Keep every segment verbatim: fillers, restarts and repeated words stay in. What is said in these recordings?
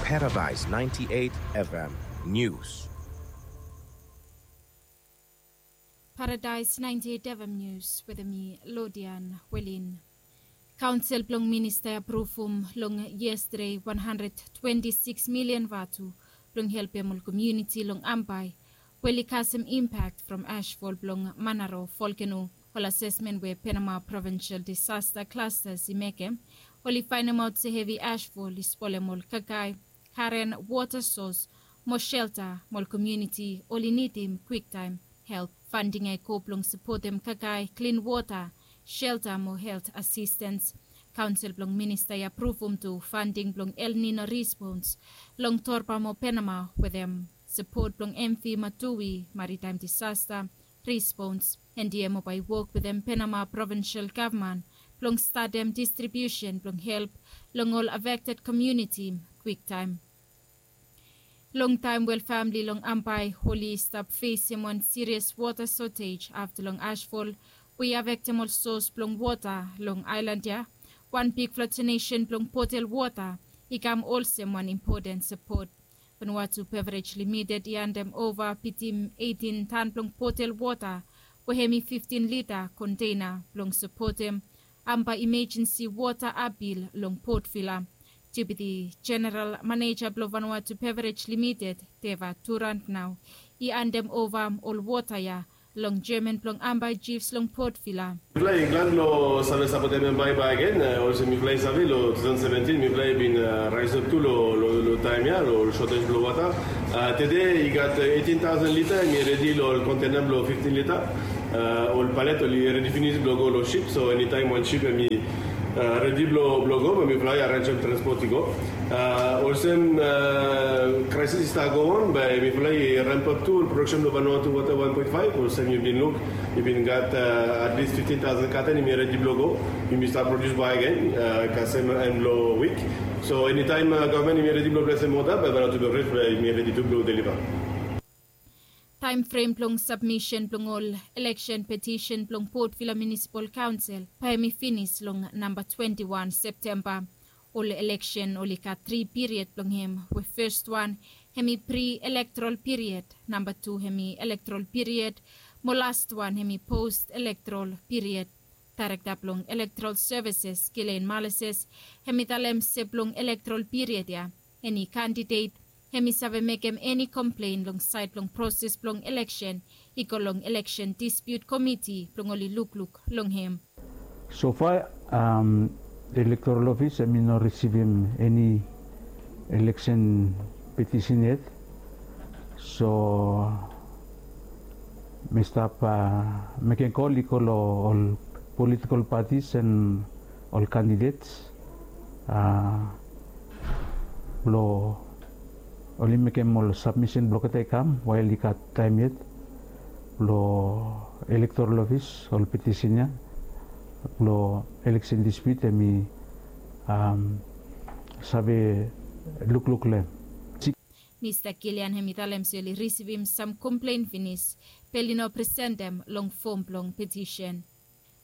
Paradise ninety-eight F M News. Paradise ninety-eight F M News wetem mi, Lodian Welin. Kaonsel blong minista i apruvum long yestade wan handred twenti sikis milian vatu blong helpem ol komuniti long Ambae we oli kasem impak from ashfall blong Manaro volkeno. Ol asesmen we Penama Provinsel Disasta Klastas i mekem, oli faenemaot se hevi ashfall i spolem ol kakae, karen, wota sos mo shelta, mo ol komuniti oli nidim kwiktaem help. Fanding ya i go blong sapotem kakae, klin wota, shelta mo helt asistens. Kaonsel blong minista i apruvum tu fanding blong El Nino rispons long Torba mo Penama wetem sapot blong M V Matui Maritaem Disasta Rispons. Endiemo bae i wok wetem Penama Provinsel Gavman blong statem distribiusen blong help long ol afekted komuniti kwiktaem. Longtaem we ol famili long Ambae oli stap fesem wan sirias wota sotej afta long ashfall we i afektem ol sos blong wota long aelan ya. Wan bigfala donesen blong botel wota i kam olsem wan impoten sapot. Vanuatu Beverage Limited i handem ova bitim eitin tan blong botel wota we hemi fiftin lita konteina blong sapotem Ambae Imejensi Wota Apil long Port Vila. Deputi Jeneral Maneja blong Vanuatu Beverage Limited, Deva Durant nao i handem ova ol wota ya long jeaman blong Ambae Jifs long Port Vila. Mifala i glad blong save sapotem Ambae bakegen, olsem mifala i save long tu taosen seventin mifala i bin raesap tu long taem ya long ol sotej blong wota. Tede i gat eitin taosen lita hemi redi long ol konteina blong fiftin lita. Ol palet oli redi finis blong go long sip, so enitaem wan sip hemi redi blong go, bae mifala i arenjem transpot i go. Olsem kraesis i stap go on, bae mifala i rempap tu ol prodaksen blong Vanuatu Wota wan poen faef, olsem yu bin luk, i bin gat atlis fiftin taosen katen hemi redi blong go. Yumi stap produs bakegen kasem en blong wik. So enitaem gavman hemi redi blong blesem wota, bae Vanuatu Beverage bae hemi redi tu blong deliva. Taem frem blong sabmisen blong ol eleksen petisen blong Port Vila Munisipal Kaonsel bae hemi finis long namba twenti wan Septemba. Ol eleksen oli gat tri piried blong hem, we fes wan hemi pri-elektorol piried, namba tu hemi elektorol piried, mo las wan hemi pos-elektorol piried. Daerekta blong Elektorol Sevises, Gillian Malises, hemi talem se blong elektorol piried ya, eni kandidet hemi save mekem eni komplen long saed blong proses blong eleksen i go long Eleksen Dispiut Komiti blong oli lukluk long hem. So fa, Elektorol Ofis hemi no risivim eni eleksen petisen yet. So mi stap mekem kol i go long ol politikol patis en ol kandidets blong oli mekem ol sabmisen blong olgeta i kam wael i gat taem yet blong Elektorol Ofis ol petisen ya blong Eleksen Dispiut hemi save lukluk long hem. Mista Gillian hemi talem se oli risivim sam komplen finis be oli no presentem long fom blong petisen.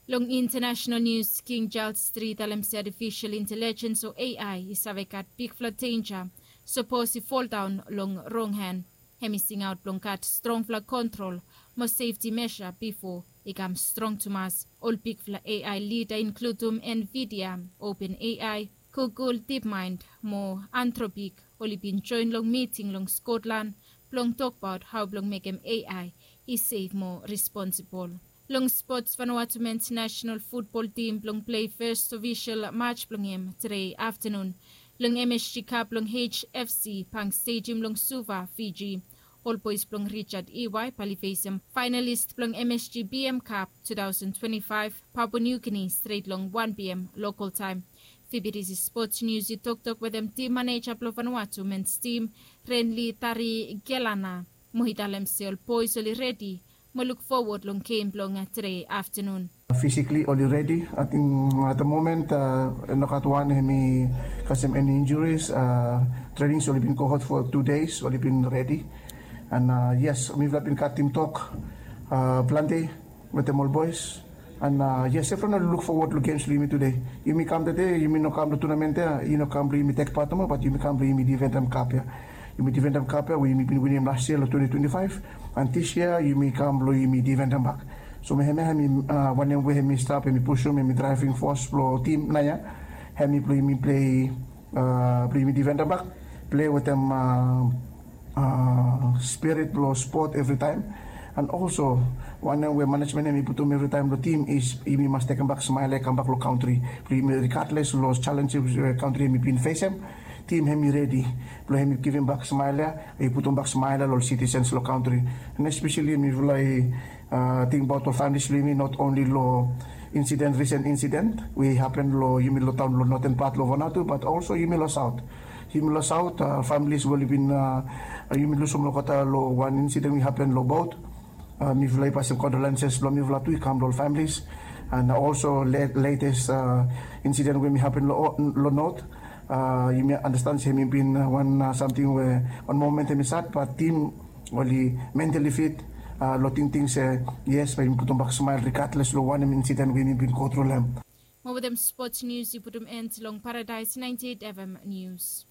Long intanasonal nius, King Charles tri i talem se atifisol intelejens o A I i save gat bigfala denja sapos i foldaon long rong han. Hemi singaot blong gat strongfala kontrol mo sefti mesa bifo i kam strong tumas. Ol bigfala A I lida inkludum Nvidia, OpenAI, Google DeepMind mo Anthropic oli bin joen long miting long Skotlan blong tokbaot hao blong mekem A I i sef mo responsibol. Long spots, Vanuatu mens nasonal futbol tim blong plei fes ofisol maj blong hem tede aftanun long M S G Cup long H F C Bank Stadium long Suva, Fiji. Ol boes blong Richard Iwai bae oli fesem faenalis blong M S G B M Cup tu taosen twenti faef, Papua New Guinea, stret long wan P M lokol taem. Fibidisi Spots Nius i toktok wetem tim maneja blong Vanuatu mens tim, Renli Tarigelana, mo i talem se ol boes oli redi mo luk fowod long gem blong tede aftanun. Fisikli oli redi. Ating at the moment nogat wan hemi kasem eni injuris. Trenings oli bin go hot fo tu deis, oli bin redi. An yes, mifala bin katim tok plante wetem ol boes. And yes, evriwan oli luk fowod long gems blong yumi tude. Yumi kam tude, yumi no kam long tunamen ya, i no kam blong yumi tek pat nomo, bat yumi kam blong yumi difendem kap ya. Yumi difendem kap ya we yumi bin winim las yia long twenty twenty-five. And dis yia yumi kam blong yumi difendem bak. So mi hem ya hem i wanem we hem i stap hem i pusum hem i draiving fos blong tim nao ya. Hem i blong yumi plei, blong yumi difendem bak, plei wetem spirit blong spot evritaem. And also wanem we manejmen hem i putum evritaem long tim is yumi mas tekem bak smael ya i kam bak long kantri blong yumi, rigadles long jalenj we kantri hem i bin fesem. Tim hem i redi blong hem i givim bak smael ya, i putum bak smael ya long sitisens long kantri. And espeseli mifala i tingbaot long familis blong yumi, not onli long insiden, risen insiden we i hapen long yumi long taon long noten pat long Vanuatu, bat also yumi long saot. Yumi long saot, familis we oli bin, yumi lusum olgeta long wan insiden we i hapen long bot. Mifala i pasem kondolenses blong mifala tu i kam long ol familis. And also letes insiden we mi hapen long not, yumi anastan se hem i bin wan samting we wan momen hem i sad, bat tim oli mentali fit long tingting se yes, bae yumi putum bak smael rigadles long wanem insiden we yumi bin go tru long hem. Mo wetem spots nius i putum en long Paradaes ninety eight F M nius.